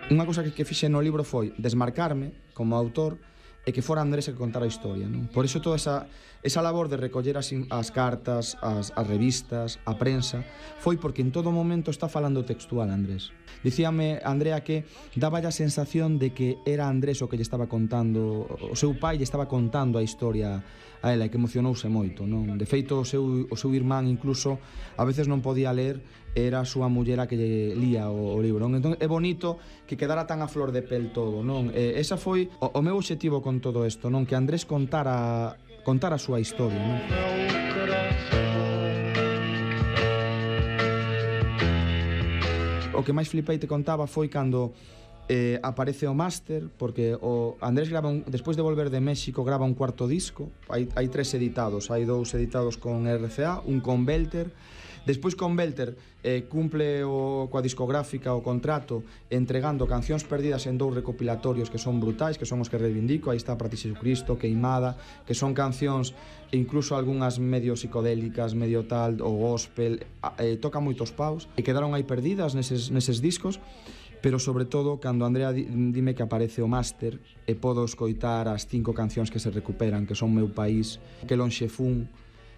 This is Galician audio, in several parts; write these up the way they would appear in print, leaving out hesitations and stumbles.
Unha cousa que fixe no libro foi desmarcarme como autor e que fora Andrés que contara a historia, non? Por iso toda esa labor de recoller as cartas, as revistas, a prensa, foi porque en todo momento está falando textual Andrés. Dicíame Andrea que daba a sensación de que era Andrés o que lle estaba contando, o seu pai lle estaba contando a historia a ela, e que emocionouse moito, non? De feito, o seu irmán incluso a veces non podía ler, era a súa muller a que lle lía o libro, non? Entón é bonito que quedara tan a flor de pel todo, non? Esa foi o meu obxectivo con todo isto, non? Que Andrés contara a súa historia, non? O que máis flipei te contaba foi cando aparece o máster, porque o Andrés grava despois de volver de México grava un cuarto disco, hai 3 editados, hai 2 editados con RCA, un con Belter. Despois con Belter cumple coa discográfica o contrato entregando Cancións Perdidas en 2 recopilatorios que son brutais, que son os que reivindico. Aí está Para ti Xesucristo, Queimada, que son cancións incluso algunhas medio psicodélicas, medio tal, o gospel, toca moitos paus e quedaron aí perdidas neses discos. Pero sobre todo cando Andrea dime que aparece o máster e podo escoitar as 5 cancións que se recuperan, que son Meu País, Que lonxe fun.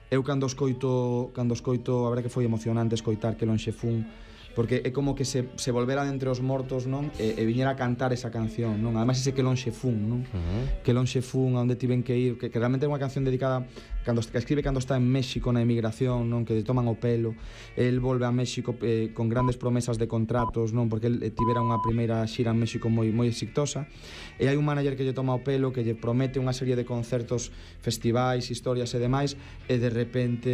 Eu cando escoito, a verdade que foi emocionante escoitar Que lonxe fun, porque é como que se volvera entre os mortos, non? E viñera a cantar esa canción, non? Ademais ese Que lonxe fun, non? Que lonxe fun, a onde tiven que ir, que realmente é unha canción dedicada que escribe cando está en México na emigración, non? Que lle toman o pelo. El volve a México con grandes promesas de contratos, non? Porque el tivera unha primeira xira en México moi exitosa, e hai un manager que lle toma o pelo, que lle promete unha serie de concertos, festivais, historias e demais, e de repente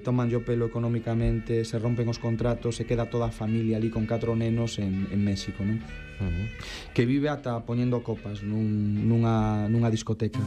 tomanlle o pelo económicamente, se rompen os contratos, se queda toda a familia ali con 4 nenos en México, non? Que vive ata poñendo copas nunha discoteca.